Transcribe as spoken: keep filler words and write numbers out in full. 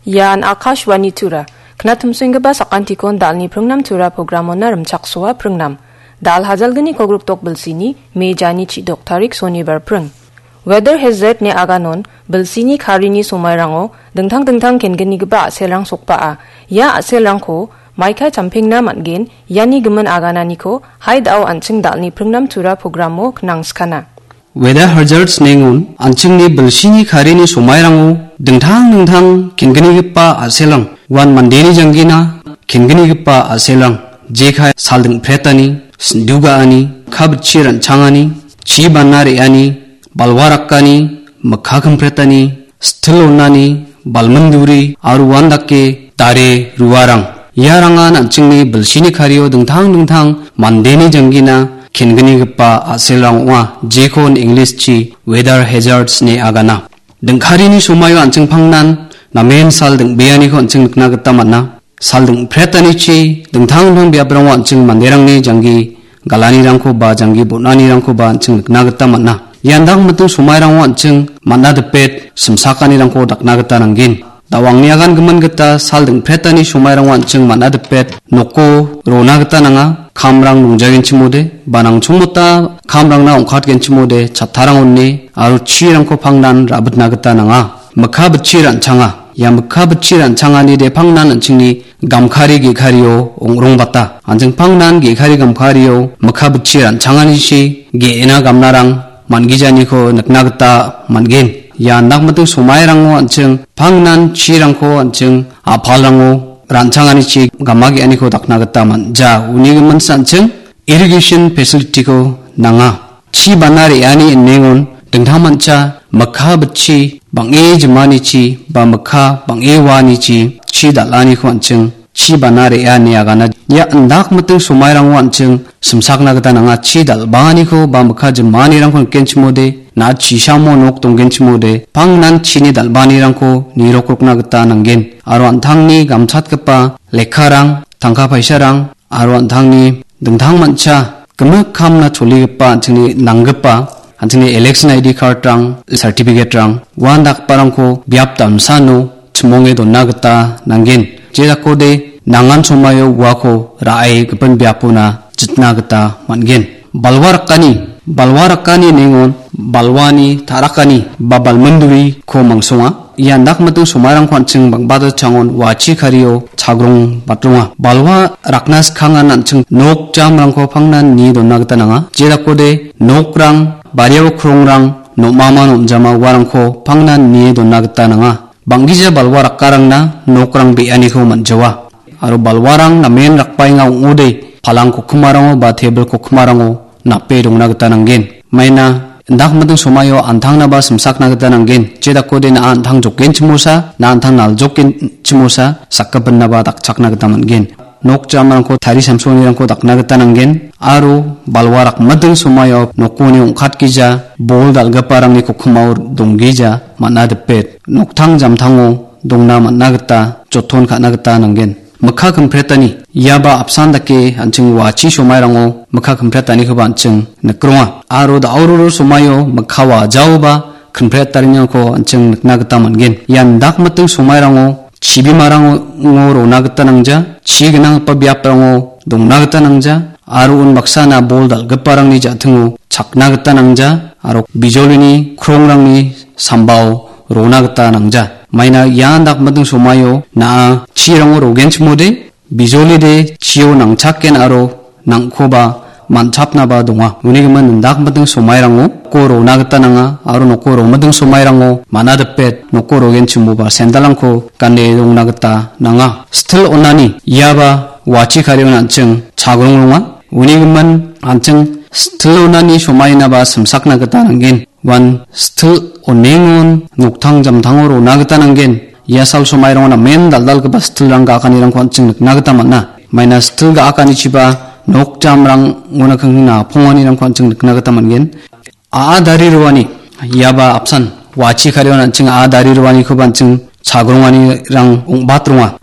Ian Akashvani Tura. Knatumsenggipa sakantikon dalni pringnam Tura programona rimchaksoa pringnam. Dal hajalgni kogrikdok bilsini, me jani chidok tarik sonibar pring. Weather hazard ne aganon, bilsini karini somairango dingtang dingtang kenggipa a·selrang sokbaa. Ia a·selrangko maika champengna man·gen, iani gimin agananiko haidao an·ching dalni pringnam Tura programo knangskana. Weather hazards nengon an·chingni bilsini karini somairango dingtang dingtang kenggipa a·selrang, uan mandeni janggina kenggipa a·selrang, jekai sal dingpretani, sindu ga·ani, kabchi ran·changani, chi bana re·ani, balwa rakani, mikka kimpretani, sitil onani, balminduri, aro uandake dare ruarang. Iarangan an·chingni bilsini kario dingtang dingtang mandeni janggina kenggipa a·selrang ong·a, jekon English-chi weather hazards ne agana. Dingkarini somaio an·ching pangnan namen sal dingbeaniko an·ching nikna gita man·a. Sal dingpretanichi dingtang dingtang biaprango an·ching manderangni janggi galanirangko ba janggi bon·anirangkoba an·ching nikna gita man·a. Ian dang miting somairango an·ching man·a dipet simsakanirangko dakna gita nanggen. Dawangni agan gimin gita sal dingpretani somairango an·ching man·a dipet noko rona gita nanga. Kamrang nongjagenchimode, ba nangchongmota kamrangna ong·katgenchimode, chattarang one aro chirangko pangnan rabitna gita nanga. Mikka bitchi ran·changa. Ia mikka bitchi ran·changani de pangnan an·chingni gamkari ge·kario ong·rongbata. An·ching pangnan ge·kari gamkario mikka bitchi ran·changanichi ge·ena gamnarang man·gijaniko nikna gita man·gen. Ia andakmiting somairango an·ching pangnan chirangko an·ching a·palrango ran·changanichi gama ge·aniko dakna gita man·ja. Uni giminsa an·ching irrigation facility-ko nanga. Chi bana re·ani inengon dingtangmancha mikka bitchi bang·e jimanichi ba mikka bang·e waanichi chi dal·aniko an·ching chi bana re·a ine agana. Ia indakmiting somairango an·ching simsakna gita nanga. Chi dal·baaniko ba mikka jimanirangko nikenchimode, na·a chisamo nok donggenchimode, pangnan chini dal·baanirangko nirokrokna gita nanggen. Aro an·tangni gamchatgipa lekkarang, tangka paisarang, aro an·tangni dingtangmancha gimik kamna choligipa an·chingni nanggipa, an·chingni election I D card-rang, certificate-rang, uandakgiparangko biap damsano chimonge dona gita nanggen. Jedakode nangan somaio uako ra·e gipin biapona jitna gita man·gen. Balwa rakani, balwa rakani nengon balwani ta·rakani ba balminduriko mangsonga. Ia indakmiting somairangko an·ching bang·bata changon wachi kario chagrong batronga. Balwa rakna skang an an·ching nok jamrangko pangnan nie dona gita nanga. Jedakode nokrang, bariao krongrang, nom·ama nom·jama uarangko pangnan nie dona gita nanga. Bang·gija balwa rakkarangna nokrang be·aniko man·jawa. Aro balwarang namen rakbaenga ong·ode, palang kokkimarango ba tebil kokkimarango nape dongna gita nanggen. Maina indakmiting somaio an·tangnaba simsakna gita nanggen. Jedakode na·a an·tang jokgenchimosa, na·a an·tang naljokgenchimosa, sakgipinaba dakchakna gita man·gen. Nok jamrangko tari samsonirangko dakna gita nanggen. Aro balwa rakmiting somaio nokoni ong·katgija, bol dal·giparangni kokkimao donggija, man·a dipet. Noktang jamtango dongna man·a gita, joton ka·na gita nanggen. Mikka kimpretani, iaba apsan dake an·ching wachi somairango mikka kimpretanikoba an·ching nikronga. Aro da·o roro somaio mikka wajaoba kimpretariniko an·ching nikna gita man·gen. Ian dakmiting somairango chibimarango rona gita nangja, chi gnanggipa biaprango dongna gita nangja, aro unbaksana bol dal·giparangni ja·tingo chakna gita nangja, aro bijolini krongrangni sambao rona gita nangja. Maina ian dakmiting somaio na·a chirango rogenchimode, bijolide chio nangchaken aro nangkoba man·chapnaba donga. Uni gimin indakmiting somairango noko rona gita nanga aro noko romiting somairango man·a dipet noko rogenchimoba sendalrangko gane rongna gita nanga. Sitil onani iaba wachi karion an·ching chagrong ronga. Uni gimin an·ching sitil onani somainaba simsakna gita nanggen. Uan sitil onengon noktang jamtango rona gita nanggen. Ia sal somairango namen dal·dalgipa sitilrang ga·akanirangko an·ching nikna gita man·a. Maina sitil ga·akanichiba nok jamrangona kengkengna ponganirangko an·ching nikna gita man·gen. A·a dari roani, iaba apsan wachi karion an·ching a·a dari roanikoba an·ching chagronganirang ong·bat ronga.